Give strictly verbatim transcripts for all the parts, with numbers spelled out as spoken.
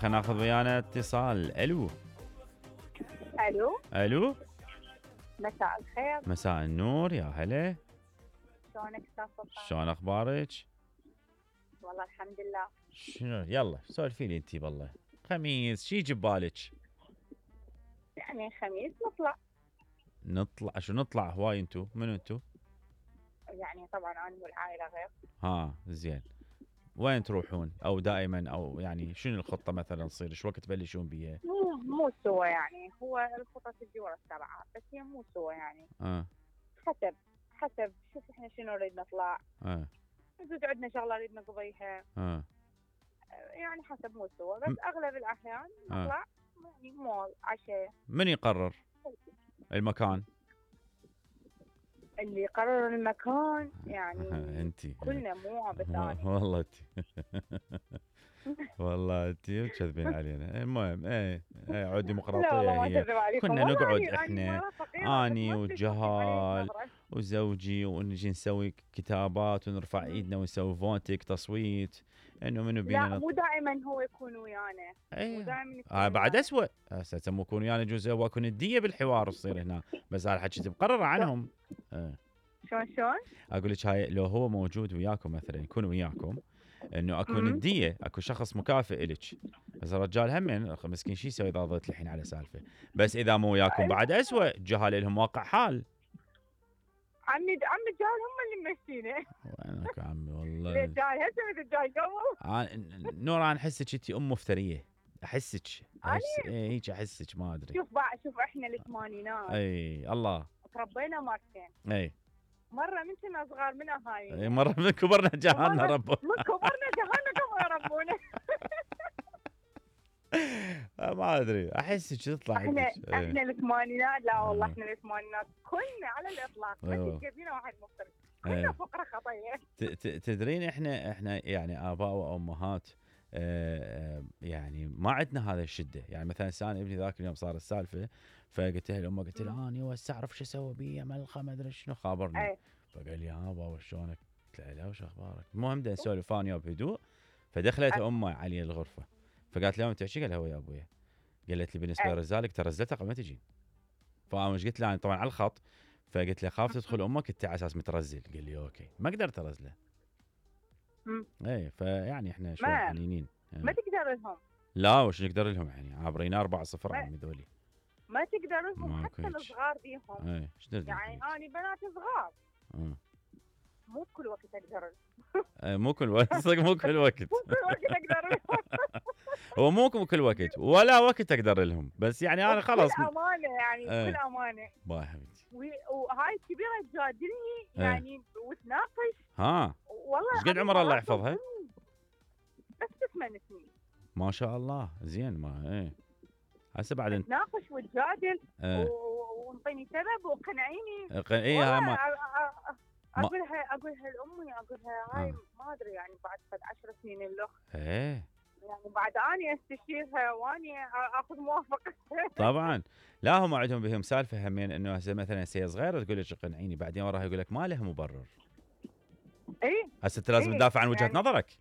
خلينا ناخذ ويانا اتصال. الو الو الو مساء الخير. مساء النور، يا هلا. شلونك استاذ سلطان؟ شلون اخبارك؟ والله الحمد لله. شنو يلا سولفي لي انتي. بالله خميس شي يجي ببالك؟ يعني خميس نطلع. نطلع شو نطلع هواي؟ انتو منو انتو؟ يعني طبعا انا والعائله غير. ها زين. وين تروحون او دائما او يعني شنو الخطه مثلا تصير؟ ايش وقت تبلشون بيها؟ مو مو سوا يعني، هو الخطط تجي ورا السبعه بس هي مو سوا يعني. اه حسب حسب شوف احنا شنو نريد نطلع. اه نزيد عندنا شغله نريد نقضيها. اه يعني حسب مو سوا بس اغلب الاحيان آه. نطلع يعني مول عشاء. من يقرر المكان؟ اللي يقرر المكان يعني انتي كلنا مو بثاني. والله انتي والله انتي تكذبين علينا. المهم ايه ايه عود ديمقراطيه هي. كنا نقعد احنا اني والجهال وزوجي ونجي نسوي كتابات ونرفع ايدنا ونسوي فونتك تصويت انه منو بينا. لا مو دائما هو يكون ويانا. ايه مو دائما آه بعد اسوء. هسه مو يكون ويانا يجوز هو يكون نديه بالحوار تصير هنا. بس هذا الحكي مقرر عنهم. اه شلون شلون؟ اقول لك هاي لو هو موجود وياكم مثلا يكون وياكم انه اكو نديه، اكو شخص مكافئ الك. بس الرجال همين مسكين شي يسوي اذا ضلت الحين على سالفه. بس اذا مو وياكم بعد اسوء. الجهال لهم واقع حال. عمي عم الجهال هم اللي ممشينه. وينك عمي والله. الجاي هسه الجاي قبل. نور انا احسك انت ام مفتريه. احسك احس ايه هيك احسك ما ادري. شوف بقى شوف احنا الثمانينات. اي الله. تربينا مرتين. اي مره من كنا صغار من اهالينا. اي مره من كبرنا جهلنا ربنا. من كبرنا جهلنا قبل ربونا. ما ادري احسك تطلع احنا عندك. احنا الثمانينات. لا والله احنا الثمانينات كنا على الاطلاق ما تلقى واحد مختلف. كنا فقره خطيه. تدرين احنا احنا يعني اباء وامهات آه يعني ما عندنا هذا الشده. يعني مثلا سان ابني ذاك اليوم صار السالفه فقلت له لامه قلت له اني هسه اعرف شو اسوي بيه ملخه ما ادري شنو خابرني. أي. فقال لي ها بابا شلونك؟ قلت له لا وش اخبارك؟ المهم بدنا نسولف انا بهدوء. فدخلت امه علي الغرفه فقالت له تحكي؟ قال هو يا ابويا. قالت لي بالنسبه لرزالك ترى رزتها قبل ما تجي. فانا مش قلت له انا طبعا على الخط. فقلت له خاف تدخل امك انت على اساس مترزل. قال لي اوكي ما قدرت ارزله. ايه فيعني احنا شوي حنينين. ما تقدر لهم. لا وش نقدر لهم يعني عابرينا أربعة صفر عمي ذولي. ما تقدر لهم حتى الصغار بيهم. ايه ايش يعني انا بنات صغار. اه مو كل وقت اقدر. ايه مو كل وقت صدق مو كل وقت. مو كل وقت اقدر لهم. هو مو كل وقت ولا وقت اقدر لهم بس يعني انا خلاص. بكل امانه يعني بكل امانه. باي حبيبتي. وهاي الكبيره تجادلني يعني وتناقش. ها والله ايش قد عمرها الله يحفظها؟ بس ثمان سنين. ما شاء الله زين. ما ايه هسه بعد تناقش وتجادل اه. ونطيني سبب وقنعيني. ايه ما اقول لها اقول لها لامي اقول لها هاي ما ادري يعني بعد قد عشر سنين الاخ. ايه يعني بعد اني استشيرها واني اخذ موافقتها. طبعا لا هم عندهم بهم سالفه همين انه هسه مثلا سي صغيره تقول لك قنعيني بعدين وراها يقول لك ما له مبرر. اي هسه انت لازم تدافع عن وجهه يعني نظرك.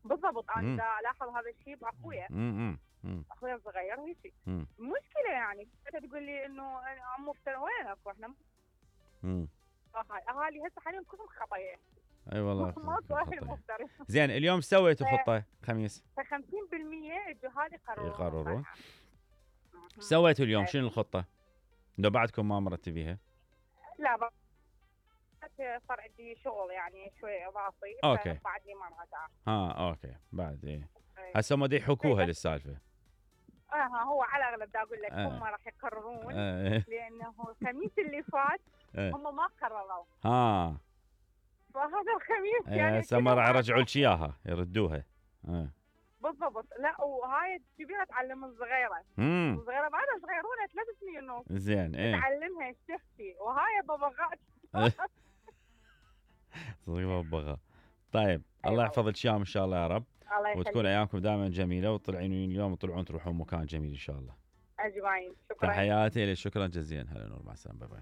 بالضبط. انا دا الاحظ هذا الشيء باخويا. امم اخويا الصغير هيك المشكله يعني انت تقول لي انه عمو افتر وينك واحنا امم اهالي هسه حاليا كلهم خطايا. اي والله ماكو اهل مفترض. زين اليوم سويتوا خطه خميس؟ ف خمسين بالمئة الجهال يقررون يقررون. سويتوا اليوم شنو الخطه؟ لو بعدكم ما مرتبيها؟ لا بعد صار عندي شغل يعني شوي اضافي. اوكي بعد لي ما راجع. ها اوكي بعد ايه هسه هم يحكوها للسالفه. اه هو على الاغلب دا اقول لك آه. هم راح يقررون آه. لانه الخميس اللي فات آه. هم ما قرروا. ها فهذا الخميس آه. يعني هسه ما راح يرجعوا لك اياها يردوها. اه بالضبط. لا وهاي الكبيره تعلم الصغيره. امم الصغيره بعدها صغيرونه ثلاث سنين ونص. زين ايه تعلمها ايش تحكي وهاي ببغاء. صدق ببغاء. طيب الله يحفظ لك اياهم ان شاء الله يا رب. وتكون ايامكم دائما جميله وتطلعين اليوم وتطلعون تروحون مكان جميل ان شاء الله. اجمعين. شكرا تحياتي لك. شكرا جزيلا. هلا نور مع السلامه. باي باي.